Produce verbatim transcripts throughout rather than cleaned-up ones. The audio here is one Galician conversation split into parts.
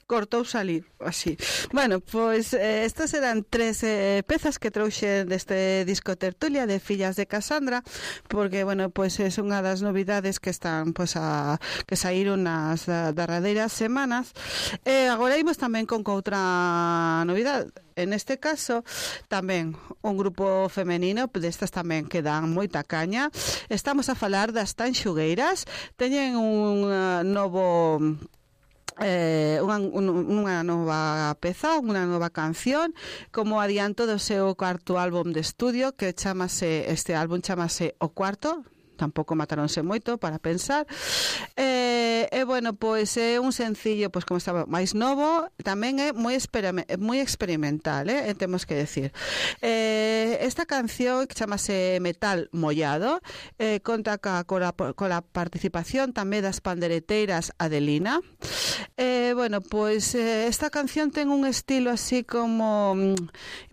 cortou salir así. Bueno, pois eh, estas eran tres eh, pezas que trouxe deste disco Tertulia de Fillas de Casandra, porque bueno, pois é unha das novidades que están pois a que saíron nas derradeiras semanas. E eh, agora imos tamén con outra novidade. En este caso, tamén un grupo femenino, destas tamén que dan moita caña. Estamos a falar das Tanxugueiras. Teñen un uh, novo eh, unha, un, unha nova peza, unha nova canción como adianto do seu cuarto álbum de estudio, que chamase, este álbum chamase O Cuarto. Tampouco mataronse moito para pensar. E, e bueno, pois é un sencillo, pois como estaba máis novo, tamén é moi moi experimental, eh, temos que decir. Eh, esta canción que chamase Metal Mollado, eh, conta ca, cola, cola participación tamén das pandereteiras Adelina. Eh, bueno, pois eh, esta canción ten un estilo así como,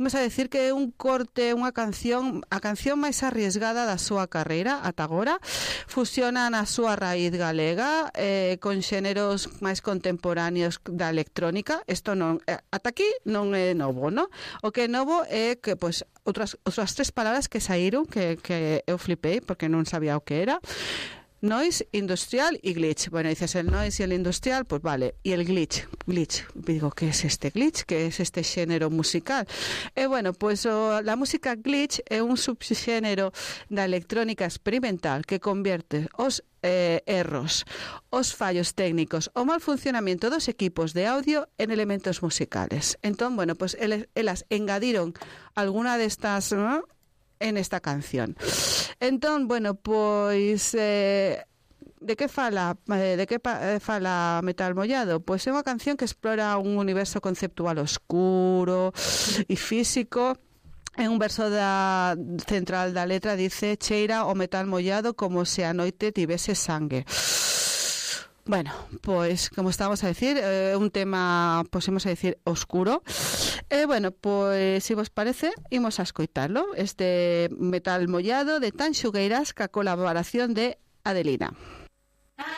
imos a decir que é un corte, unha canción, a canción máis arriesgada da súa carreira ata agora. Fusiona na súa raíz galega eh, con xéneros máis contemporáneos da electrónica. Isto non, eh, ata aquí non é novo, no? O que é novo é que pois outras, outras tres palabras que saíron que, que eu flipei porque non sabía o que era. Noise, industrial y glitch. Bueno, dices el noise y el industrial, pues vale. Y el glitch, glitch. Digo, ¿qué es este glitch? ¿Qué es este xénero musical? E bueno, pues oh, la música glitch é un subxénero da electrónica experimental que convierte os eh, erros, os fallos técnicos, o mal funcionamiento dos equipos de audio en elementos musicales. Entón, bueno, pues el, elas engadiron alguna destas, ¿no?, en esta canción. Entón, bueno, pois eh, de que fala eh, de que pa, eh, fala Metal Mollado? Pois é unha canción que explora un universo conceptual oscuro e físico. En un verso da central da letra dice: cheira o metal mollado como se a noite tivese sangue. Bueno, pois, como estábamos a decir, é eh, un tema, pois, imos a decir, oscuro. E, eh, bueno, pois, se vos parece, imos a escoitalo. Este Metal Mollado de Tanxugueiras ca colaboración de Adelina.